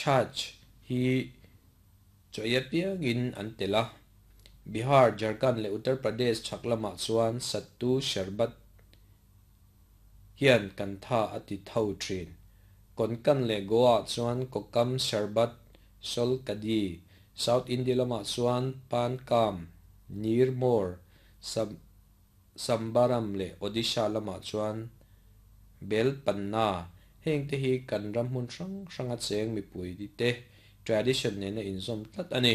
Chhach hi chaw ei apiangin an telh a. Bihar, Jharkhand leh Uttar Pradesh chhak lamah chuan Sattu Sharbat hian kan tha a ti tho thin. Konkan leh Goa ah chuan Kokam Sharbat, Sol Kadi, South India lamah chuan Pan Kam, Nir Mor, Sambaram leh Odisha lamah chuan Bel Panna. Heng te hi kan ram hmun hrang hranga cheng mipui te tradition nena inzawm tlat a ni.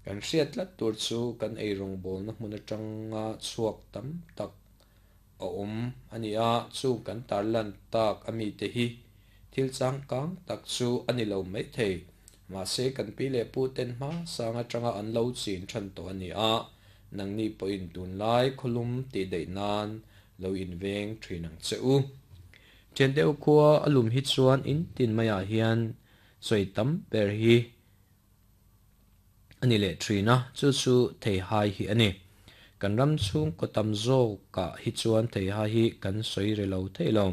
Kan hriat tlat tur chu kan eirawngbawlna hmun atanga chhuak tam tak a awm a ni a, chung kan tarlan tak a mite hi thil changkang tak chu a ni lo maithei. Mahse kan pi leh pu ten hma sang atanga an lo chin than tawh a ni a, nangni pawhin tunlai khawlum tih daih nan lo inveng thin ang che u. Thian deuh khua a lum hi chuan in tin maiah hian sawi tam ber hi a ni leh thin a, chu chu theihai hi a ni. Kan ram chhungkaw tam zawkah hi chuan theihai hi kan sawi re lo thei lo.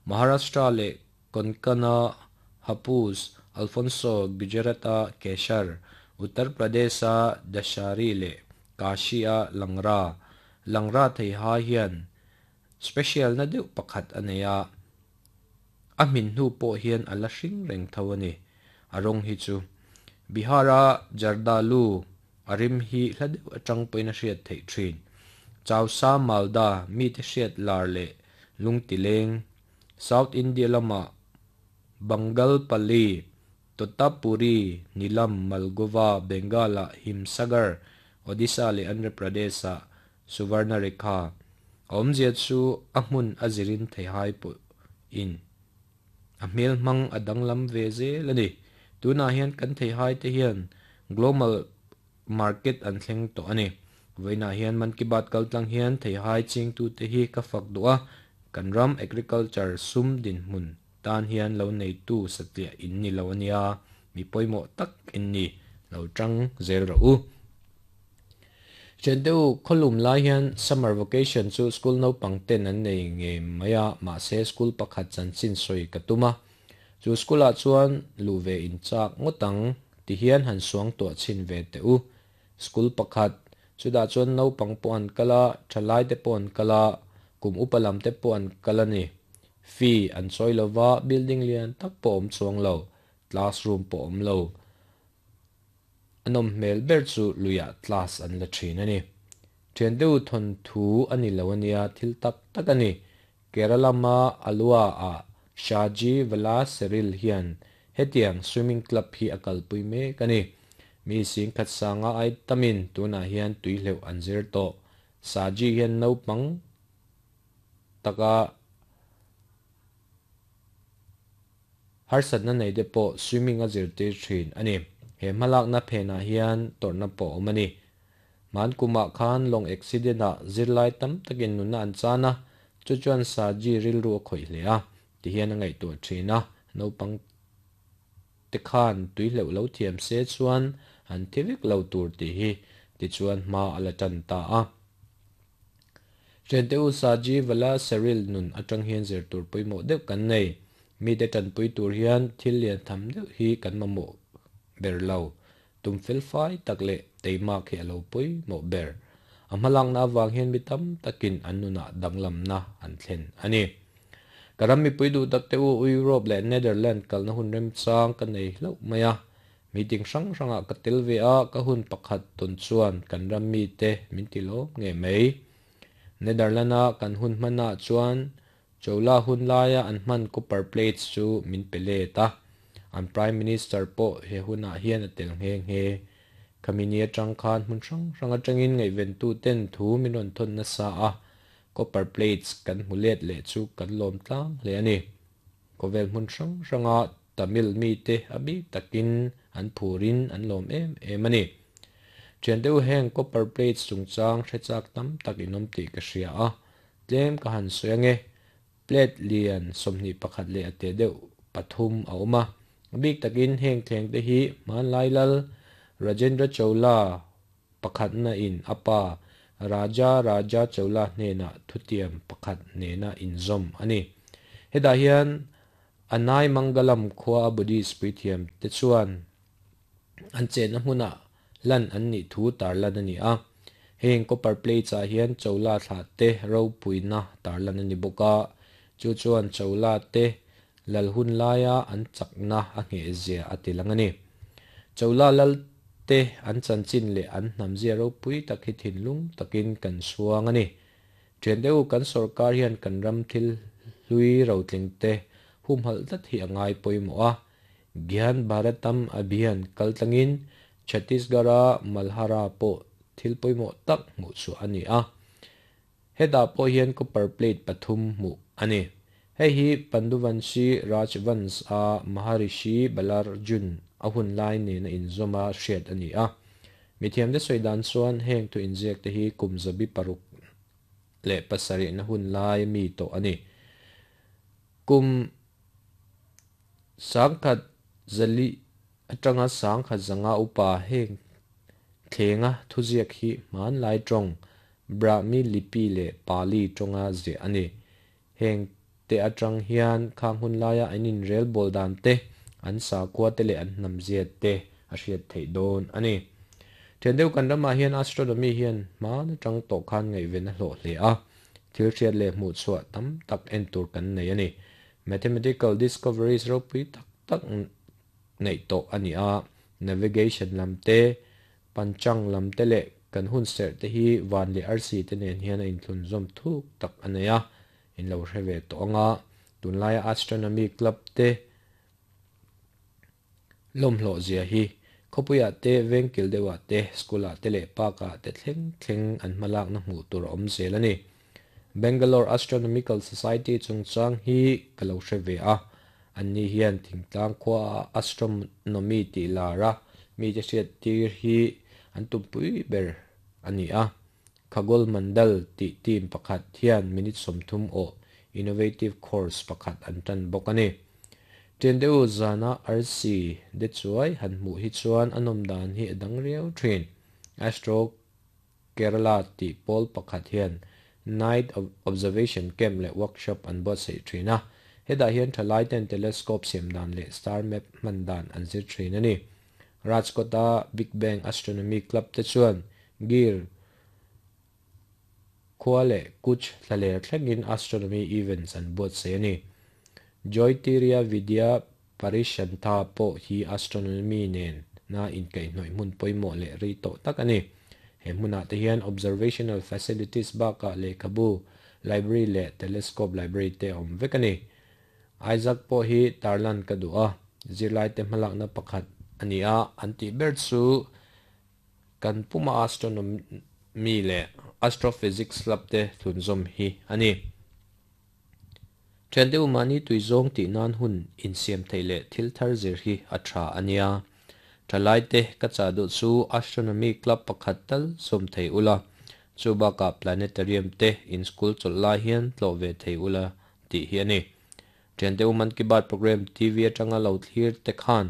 Maharashtra leh Konkana, Hapus, Alfonso, Gujarat-a Keshar, Uttar Pradesh-a Dashari leh Kashi-a Langra. Langra theihai hian special na deuh pakhat a nei a, a hmin hnu pawh hian a la hring reng tho a ni. A rawng hi chu Bihar-a Jardalu a rim hi hla deuh atang pawhin a hriat theih thin. Chausa Malda mite hriat lar leh lungtileng South India lama Bangalpalli, Totapuri, Nilam, Malgova, Bengal-a Himsagar, Odisha leh Andhra Pradesh-a Suvarnarekha. A awmzia chu a hmun a zirin theihai pawhin a hmel hmang a danglam ve zel a ni. Tunah hian kan theihai te hian global market an thleng tawh a ni. Vawiinah hian Man Ki Baat kaltlang hian theihai chingtute hi ka fak duh a, kan ram agriculture sum dinhmun tan hian lo neitu satliah in ni lo a nia, mi pawimawh tak in ni, lo tang zel rawh u. Thiante u, khawlum lai hian summer vacation chu school naupang ten an nei ngei mai a, mahse school pakhat chanchin sawi ka tum a. Chu school ah chuan luh ve in chak ngawt ang ti hian han suang tuah chhin ve teh u. School pakhat, chutah chuan naupang pawh an kal a, thalai te pawh an kal a, kum upa lam te pawh an kal a ni. Fee an chawi lo va, building lian tak pawh awm chuang lo, classroom pawh awm lo. A nawm hmel ber chu luiah class an la thin a ni. Thian deuh thawnthu a ni lo a nia, thil tak tak a ni. Kerala lama Alua ah Shaji Vala Seril hian hetiang swimming club hi a kalpui mek a ni. Mi singkhat sanga ai tamin tunah hian tuihleuh an zir tawh. Shaji hian naupang taka Harsatna nei te pawh swimming a zirtir thin a ni. He hmalakna phenah hian tawrhna pawh a awm a ni. Hman kumah khan lawng accident ah zirlai tam takin nunna an chan a, chu chuan Saji rilru a khawih hle a, ti hian a ngaihtuah thin a, naupang te khan tui hleuh lo thiam se chuan an thi vek lo tur tih hi tichuan hma a la tan ta a. Thiante u Saji Vala Seril nun atang hian zir tur pawimawh deuh kan nei. Mite tanpui tur hian thil lian tham deuh hi kan mamawh ber lo. Tum felfai tak leh teimak hi a lo pawimawh ber. A hmalakna avang hian mi tam takin an nunah danglamna an thlen a ni. Ka ram mipui duh takte u Europe leh Netherland kalna hun remchang ka nei hlauh mai a. Meeting hrang hrangah ka tel ve a, ka hun pakhat tawn chuan kan ram mite min ti lawm ngei mai. Netherland-a kan hun hmanah chuan Chola hun laia an hman copper plates chu min pe let a, an Prime Minister pawh he hunah hian a tel nghe nghe. Khami ni atang khan hmun hrang hrang atangin ngaihventu ten thu min rawn thawn nasa a, copper plates kan hmu let leh chu kan lawm tlang hle a ni. Khawvel hmun hrang hranga Tamil mite a bik takin an phurin an lawm em em a ni. Thiante u heng copper plates chungchang hre chak tam tak in awm tih ka hria a, tlem ka han sawi ange. Plate lian 21 leh a te deuh pathum a awm a, a bik takin heng thleng te hi hmanlai lal Rajendra Chola pakhatna in a pa Raja Raja Chola hnenah thutiam pakhat nena inzawm a ni. Hetah hian. Anaimangalam khua a Buddhist puithiam te chuan an chenna hmuna lan an nih thu tarlan a ni a. Heng copper plates ah hian Chola thlah te ropuina tarlan a ni bawk a, chu chuan Chola te lal hun laia an chakna a nghehzia a ti lang a ni. Chola lal te an chanchin leh an hnamzia ropui tak hi thinlung takin kan chhuang a ni. Thian deuh kan sawrkar hian kan ram thil hlui rotling te humhalh tlat hi a ngai pawimawh a. Gyan Bharatam Abhiyan kal tlangin Chhattisgarh-a Malhara pawh thil pawimawh tak hmuh chhuah a ni a. Hetah pawh hian copper plate pathum hmuh a ni. Hei hi Panduvanshi Rajvansh-a Maharishi Balarjun a hun lai nena inzawma hriat a ni a. Mithiamte sawi dan chuan heng thu inziak te hi kum 607 na hun lai mi tawh a ni. Kum 1400 atanga 1500 upa heng thlenga thuziak hi hmanlai tawng Brahmi Lipi leh Pali tawnga ziah a ni. Heng te atang hian khang hun laia an inrel bawl dan te, an sakhua te leh an hnamzia te a hriat theih dawn a ni. Thian deuh kan ramah hian astronomy hian hman atang tawh khan ngaihven a hlawh hle a, thil hriat leh hmuh chhuah tam tak en tur kan nei a ni. Mathematical discoveries ropui tak tak neih tawh a ni a, navigation lam te, Panchang lam te leh kan hun serh te hi van leh arsi te nen hian a inthlunzawm thuk tak a nei a, in lo hre ve tawh ang a, tunlaia astronomy club te lawmhlawh zia hi khawpuiah te, vengkil deuhah te, school ah te leh park ah te thleng thleng an hmalakna hmuh tur a awm zel a ni. Bangalore Astronomical Society chungchang hi ka lo hre ve a, anni hian thingtlang khuaah astronomy tih lar a mite hriat tir hi an tumpui ber a ni a. Khagol Mandal tih team pakhat hian minute 30 awh innovative course pakhat an tan bawk a ni. Ṭian deuh zana arsi de chuai han hmuh hi chuan a nawm dan hi a dang riau ṭhin. Astro Kerala tih pawl pakhat hian Night Observation Camp leh Workshop an buatsaih thin a, hetah hian thalai ten telescope siam dan leh star map hman dan an zir thin a ni. Rajkot-a Big Bang Astronomy Club te chuan Gir khua leh Kutch thlaler thlengin astronomy events an buatsaih a ni. Joytirya Vidya Parishantha pawh hi astronomy nen na inkaihhnawih hmun pawimawh leh rei tawh tak a ni. He hmunah te hian observational facilities bakah lehkhabu library leh telescope library te a awm vek a ni. Isaac pawh hi tarlan ka duh a, zirlaite hmalakna pakhat a ni a, an tih ber chu kan puma astronomy leh astrophysics lab te thlunzawm hi a ni. Thian deuh mahni tui zawng tih nan hun insiam theih leh thil thar zir hi a tha a nia. Thalai te ka chah duh chu Astronomy Club pakhat tal zawm thei ula, chu bakah Planetarium te in school chawlh lai hian tlawh ve thei ula tih hi a ni. Thian deuh Man Ki Baat program TV atanga lo thlir te khan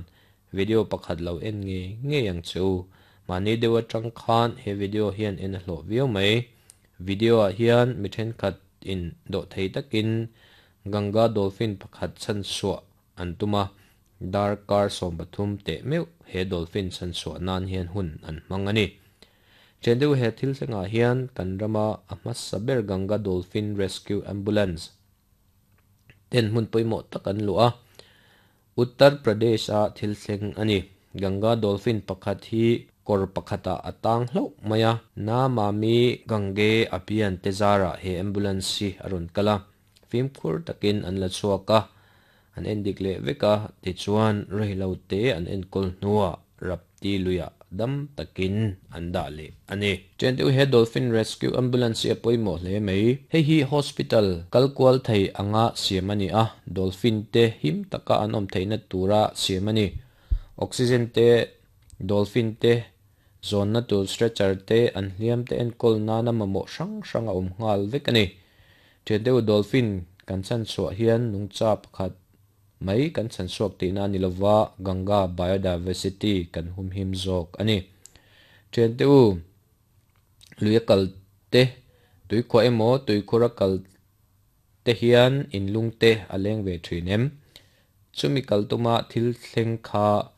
video pakhat lo en ngei ngei ang che u. Mahni deuh atang khan he video hian en a hlawh viau mai. Video ah hian mi thenkhat in dawh thei takin Ganga dolphin pakhat chhanchhuah an tum a, darkar 13 teh meuh he dolphin chhanchhuah nan hian hun an hmang a ni. Chen deuh he thil thlengah hian kan rama a hmasa ber Ganga Dolphin Rescue Ambulance ten hmun pawimawh tak an luh a, Uttar Pradesh-a thil thleng a ni. Ganga dolphin pakhat hi kawr pakhatah a tang hlauh mai a. Namami Gange Abhiyan te zarah he ambulance hi a rawn kal a, fimkhur takin an la chhuak a, an endik leh vek a, tichuan rehlo te an enkawl hnuah Rapti luiah dam takin an dah leh a ni. Chen deuh he Dolphin Rescue Ambulance hi a pawimawh hle mai. Hei hi hospital kal kual thei anga siam a ni a, dolphin te him taka an awm theihna tura siam a ni. Oxygen te, dolphin te zawnna tur stretcher te, an hliam te enkawl nana mamawh hrang hrang a awm nghal vek a ni. Chen deuh dolphin kan chhanchhuah hian nungcha pakhat mai kan chhanchhuak tihna a ni lova, Ganga biodiversity kan humhim zawk a ni. Thiante u, lui a kal te, tuikhuah emaw tuikhur a kal te hian inlung te a leng ve thin em? Chumi kal tuma thil thleng kha.